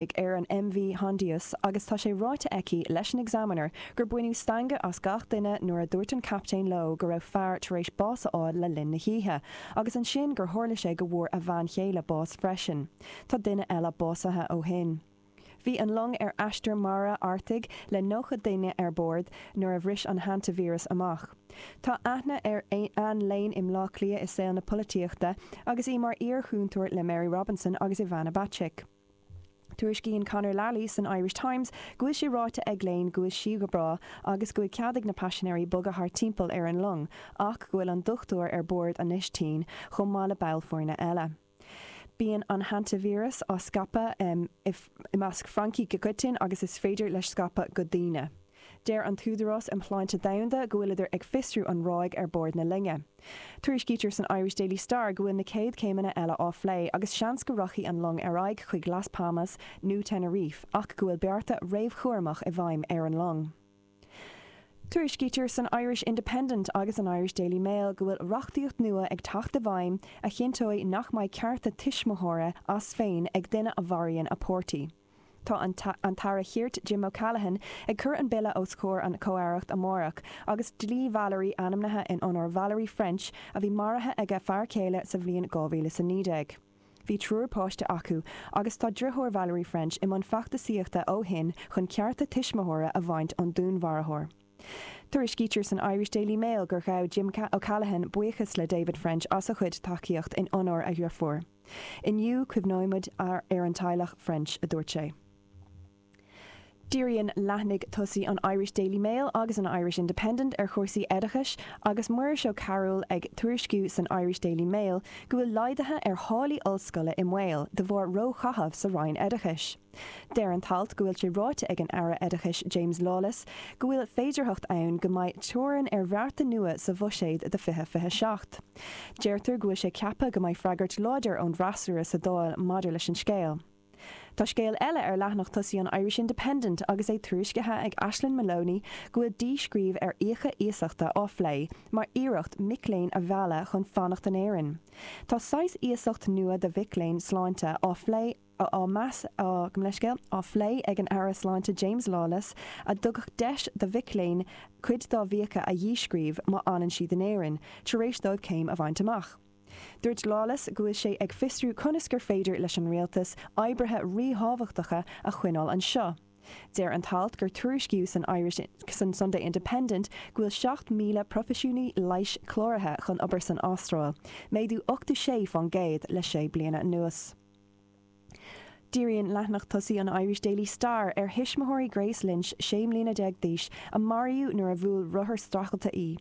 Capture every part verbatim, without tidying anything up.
ar an MV Hondius agus tá sé ráite aici leis an Examiner gur baineadh stangadh as gach duine nuair a dúirt an captaen leo go raibh fear tar éis bás a fháil le linn na hoíche, agus ansin gur tharla sé go bhfuair a bhean chéile bás freisin. Tá duine eile básaithe ó shin. Bhí an long ar aistear mara Artaigh le nócha duine ar bord nuair a bhris an hantavíreas amach. Tá aithne ar Anne Lane i mBleá Cliath i saol na polaitíochta agus í mar iar-chúntóir le Mary Robinson agus Ivana Bacik. Tuairiscíonn Conor Lally san Irish Times go bhfuil sé ráite ag Lane go bhfuil sí go breá agus go bhfuil cead ag na paisinéirí bogadh thart timpeall ar an long, ach go bhfuil an dochtúir ar bord anois tinn chomh maith le ball foirne eile. Bíonn an hantavíreas á scaipeadh i measc francaigh go coitianta agus is féidir leis scaipeadh go daoine. Deir an tÚdarás um Shláinte Domhanda go bhfuileadar ag fiosrú an ráig ar bord na loinge. Tuairiscítear san Irish Daily Star go bhfuil na céad céimeanna eile á phlé agus seans go rachaidh an long ar aghaidh chuig Las Palmas nó Tenerife ach go bhfuil bearta réamhchúramach i bhfeidhm ar an long. Tuairiscítear san Irish Independent agus an Irish Daily Mail go bhfuil reachtaíocht nua ag teacht i bhfeidhm a chinnteoidh nach mbeidh cearta tuismitheora as féin ag duine a mharaíonn a páirtí. Tá an tAire Cirt Jim O'Callaghan ag cur an bille os comhair an Chomh-Aireacht amárach agus dlí Valerie ainmnithe in onóir Valerie French a bhí maraithe ag a fear céile sa bhliain dhá mhíle is a naoi déag. Bhí triúr páiste acu agus tá deartháir Valerie French i mbun feachtasaíochta ó shin chun cearta tuismitheora a bhaint ón dúnmharfóir. Tuairiscítear san Irish Daily Mail gur ghabh Jim O'Callaghan buíochas le David French as a chuid tacaíocht in onóir a dheirfiúr. Inniu cuimhneoimid ar an teaghlach French, a dúirt sé. Díríonn leathanaigh tosaigh an Irish Daily Mail agus an Irish Independent ar chúrsaí oideachais agus Muiris Ó Cearúil ag tuairisciú san Irish Daily Mail go bhfuil laghduithe ar tháillí ollscoile i mbaol de bharr róchaitheamh sa Roinn Oideachais. Deir an t-alt go bhfuil sé ráite ag an Aire Oideachais James Lawless go bhfuil féidearthacht ann go mbeidh teorainn ar bhearta nua sa bhuiséad do fiche fiche seacht. Deirtear go bhfuil sé ceaptha go mbeidh freagairt láidir ón bhfreasúra sa Dáil maidir leis an scéal. Tá scéal eile ar leathanach tosaigh an Irish Independent agus é tuairiscithe ag Aislinn Maloney go bhfuil díscríobh ar fhiacha iasachta á phlé mar iarracht mic léinn a mhealladh chun fanacht in Éirinn. Tá saghas iasacht nua do mhic léinn sláinte á phlé á meas á gabh mo leithscéal á phlé ag an Aire Sláinte James Lawless a dtugfadh deis do mhic léinn cuid dá bhfiacha a dhíscríobh má fhanann siad in Éirinn tar éis dóibh céim a bhaint amach. Dúirt Lawless go bhfuil sé ag fiosrú conas gur féidir leis an rialtas oibrithe ríthábhachtacha a choinneáil anseo. Deir an t-alt gur tuairiscíodh san Irish san Sunday Independent go bhfuil seacht míle proifisiúnaí leighis cláraithe chun obair san Astráil, méadú ochtó sé faoin gcéad le sé bliana anuas. Díríonn leathanach tosaigh an Irish Daily Star ar thuismitheoirí Grace Lynch sé mbliana déag d'aois a maraíodh nuair a bhuail rothar streachailte í.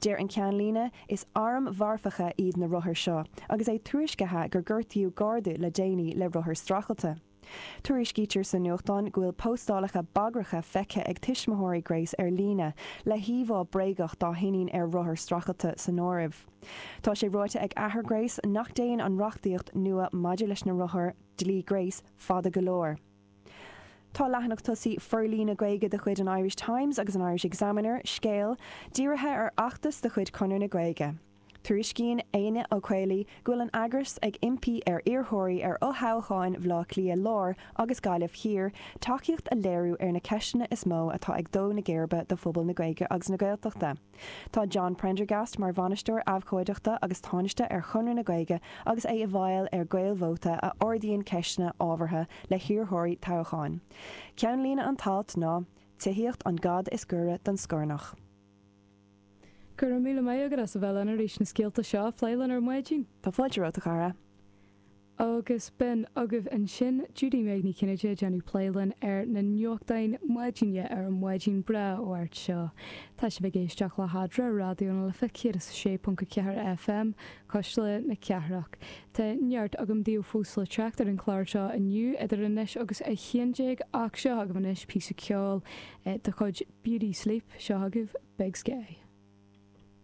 Deir an ceannlíne is airm mharfacha iad na rothair seo, agus é tuairiscithe gur gortaíodh garda le déanaí le rothar streachailte. Tuairiscítear sa nuachtán go bhfuil postálacha bagracha feicthe ag tuismitheoirí Grace ar líne le híomhá bréagach dá hiníon ar rothar streachailte san áireamh. Tá sé ráite ag athair Grace nach dtéann an reachtaíocht nua maidir leis na rothair dlí Grace fada go leor. Tá leathanach tosaigh forlíonadh Gaeilge de chuid an Irish Times agus an Irish Examiner, scéal, dírithe ar fheachtas de chuid Chonradh na Gaeilge. Tuairiscíonn Éanna Ó Caollaí go bhfuil an eagras ag impí ar iarrthóirí ar fhothoghcháin Bhaile Átha Cliath Láir agus Gaillimh Thiar tacaíocht a léiriú ar na ceisteanna is mó atá ag dó na geirbe do phobal na Gaeilge agus na Gaeltachta. Tá John Prendergast mar bhainisteoir abhcóideachta agus tánaiste ar Chonradh na Gaeilge agus é i bhfeighil ar Ghaelvóta a ardaíonn ceisteanna ábhartha le hiarrthóirí toghcháin. Ceannlíne an t-alt ná, Tithíocht an gad is gaire don scornach. Go raibh míle maith agat as a bheith linn arís na scéalta seo a phlé linn ar maidin. Tá fáilte romhat, a chara. Agus b'in agaibh ansin Judy Meg Ní Chinnéide ag déanamh plé linn ar na nuachtáin maidine ar an mhaidin breá Mháirt seo. Tá sibh ag éisteacht le hAdra Raidió na Life céad is a sé ponc a ceathair FM, Cuisle na Cathrach. Tá neart agam daoibh fós le teacht ar an chlár seo inniu idir anois agus a haon déag ach seo agaibh anois píosa ceoil de chuid Beauty Sleep, seo agaibh Big Sky.